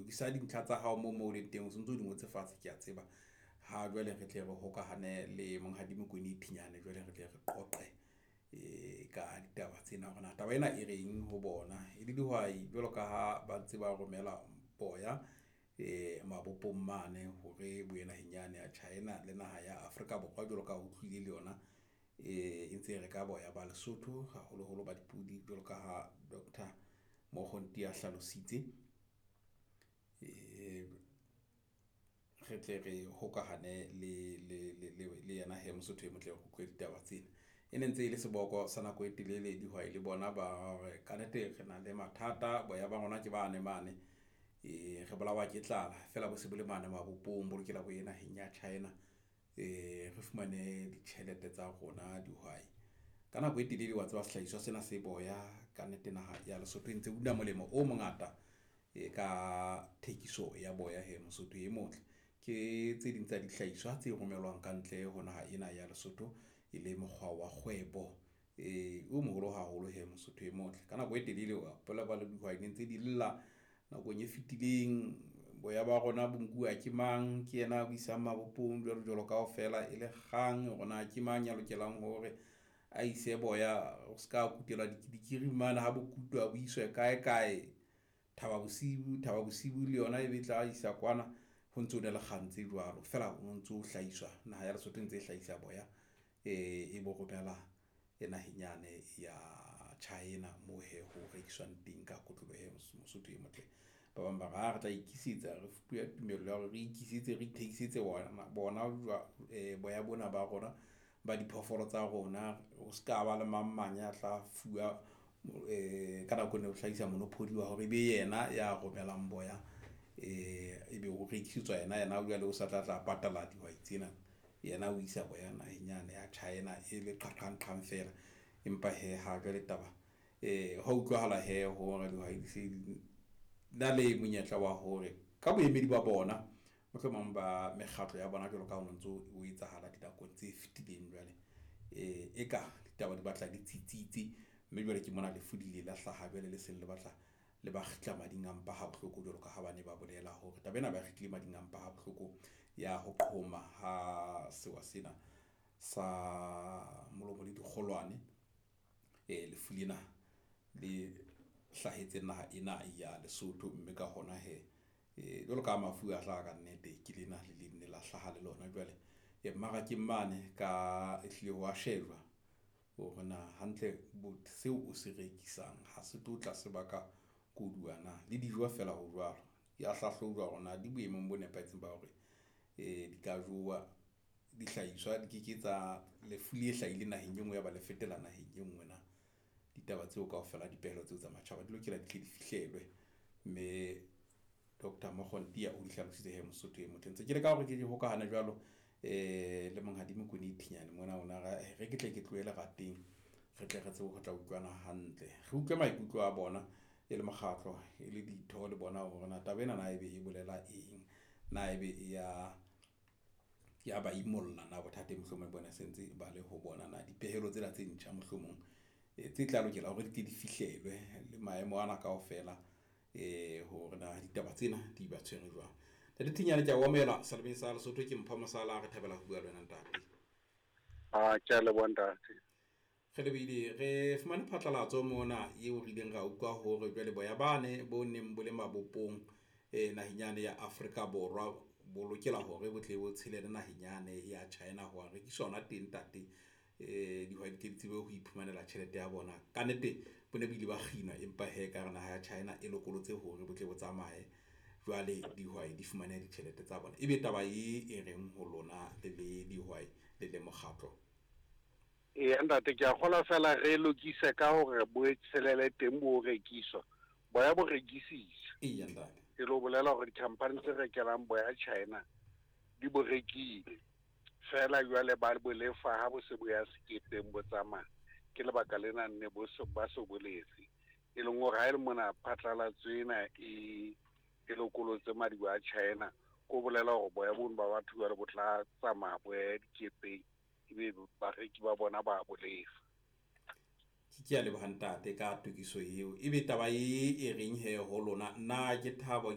Lokisa dintlha tsa hao moo mo o leng teng, o sontso o di ngotse fatshe, ke a tseba. Ha jwale re tle re hokahane le Monghadi Mokone Thinyane, jwale re tle re qoqe ka ditaba tsena hore na taba ena e reng ho bona e le dihwai jwalo ka ha ba ntse ba romela boya mabopong mane hore bo ye naheng yane ya China le naha ya Afrika Borwa jwalo ka ha utlwile le yona e ntse e reka boya ba Lesotho, haholoholo ba dipudi jwalo ka ha Doctor Mokgonti a hlalositse. Re tle re hokahane le yena hee Mosotho e motle, re utlwe ditaba tsena. E ne ntse e le seboko sa nako e telele, dihwai le bona ba re kannete re na le mathata. Boya ba rona ke bane mane re bolawa ke tlala feela bo se bo le mane mabopong, bo lokela bo ye naheng ya China. Re fumane ditjhelete tsa rona dihwai. Ka nako e telele wa tseba sehlahiswa sena se boya kannete naha ya Lesotho e ntse una molemo o mongata e ka thekiso ya boya hee Mosotho e motle. Ke tse ding tsa dihlahiswa tse romellwang ka ntle ho naha ena ya Lesotho e le mokgwa wa kgwebo o moholo haholo hee Mosotho e motle. Ka nako e telele wa ba le dihwai ne ntse di lla nakong e fetileng. Boya ba rona bo nkuwa ke mang, ke yena a bo isang mabopong jwalo jwalo kaofela e le kgang hore na ke mang ya lokelang hore a ise boya o ska kutelwa dikiri mane ha bo kutwa bo iswe kae kae. Thaba Bosiu, Thaba Bosiu le yona e be tla isa kwana ho ntso na le kgang tse jwalo feela o ntso hlahiswa naha ya Lesotho e ntse e hlahisa boya e bo romela e naheng yane ya China moo hee ho rekiswang teng ka kotloloho e Mosotho e motle. Ba bang ba re ha re tla ikisetsa, re fuwe tumello ya hore re ikisetse, re ithekisetse bona boya bona ba rona ba diphoofolo tsa rona. O ska ba le mang mang ya tla fuwa ka nako ena o hlahisa monopoly wa hore ebe yena ya romelang boya, ebe o rekisetswa yena. Yena jwale o sa tla patala dihwai tsena, yena o isa boya naheng yane ya China e le qaqang feela. Empa hee ha jwale taba hwa utlwahala hee hore dihwai di se di na le monyetla wa hore ka boemedi ba bona, mohlomong ba mekgatlo ya bona jwalo ka ha ho ntso o etsahala dinakong tse fetileng. Jwale eka ditaba di batla di tsitsitse, mme jwale ke mona lefu le ile la hlaha jwale le seng le batla le ba kgitla mading a mpa ha bohloko jwalo ka ha ba ne ba bolela hore taba ena ba kgitlile mading a mpa ha bohloko ya ho qhoma ha sewa sena sa molomo le dikgolwane. Lefu lena le hlahetseng naha ena ya Lesotho, mme ka hona hee jwalo ka mafu a hlaha kannete ke lena le leng la hlaha le lona jwale mmarakeng mane ka ehlile ho wa shejwa hore na hantle seo o se rekisang ha se tlo tla sebaka koduwa na le dijo feela ho jwalo ya hlahlojwa hore na di boemong bo nepahetseng ba hore di ka jowa. Dihlahiswa di ke ke tsa lefu le hlahileng naheng e nngwe ya ba le fetela naheng e nngwe na. Ditaba tseo kaofela dipehelo tseo tsa matjhaba di lokela di tle di fihlelwe, mme Doctor Mokgontiya o di hlalositse hee Mosotho e motle. Ntse ke leka hore ke di hokahane jwalo le Monghadi Mokone Thinyane mona ona re ke tle ke tlohe lerateng, re tle re tsebe ho tla utlwana hantle, re utlwe maikutlo a bona e le mokgatlo e le ditho le bona hore na taba ena na ebe e bolela eng, na ebe e ya ba imolla na bothateng mohlomong bona se ntse ba le ho bona na dipehelo tsena tse ntjha mohlomong tse tla lokela hore di tle di fihlelwe le maemo ana kaofela hore na ditaba tsena di ba tshwere jwang. Ntate Thinyane, ke a o amohela Selemeng sa Lesotho. Ke Mpho Mosala, re thabela ho bua le wena ntate. A ke a leboha ntate. Re lebohile, re fumane phatlalatso mona eo re ileng ra utlwa hore jwale boya bane bo neng bo le mabopong naheng yane ya Afrika Borwa bo lokela hore bo tle bo tshelele naheng yane ya China ho wa rekiswa hona teng ntate. Dihwai di tle di tsebe ho iphumanela tjhelete ya bona. Kannete bo ne bo ile ba kginwa, empa hee ka hare naha ya China e lokolotse hore bo tle bo tsamaye jwale dihwai di fumane ditjhelete tsa bona. Ebe taba e reng ho lona le le dihwai le le mokgatlo? Eya ntate, ke a kgolwa fela re lokise ka hore bo tshelele teng bo rekiswa. Boya bo rekisitswe. Eya ntate. E lo bolela hore di-company tse rekelang boya China di bo rekile. Fela jwale ba bo lefa ha bo se bo ya sekepeng bo tsamaya. Ke lebaka lena nne bo se ba se boletse. E leng hore ha e le mona phatlalatso ena e lokolotse madibo a China, ko bolela hore boya bono ba batho jwale bo tla tsamaya bo ye dikepeng, ebe bareki ba bona ba bo lefa. Ke a leboha ntate ka tokiso eo. Ebe taba e reng he ho lona, na ke thabo ke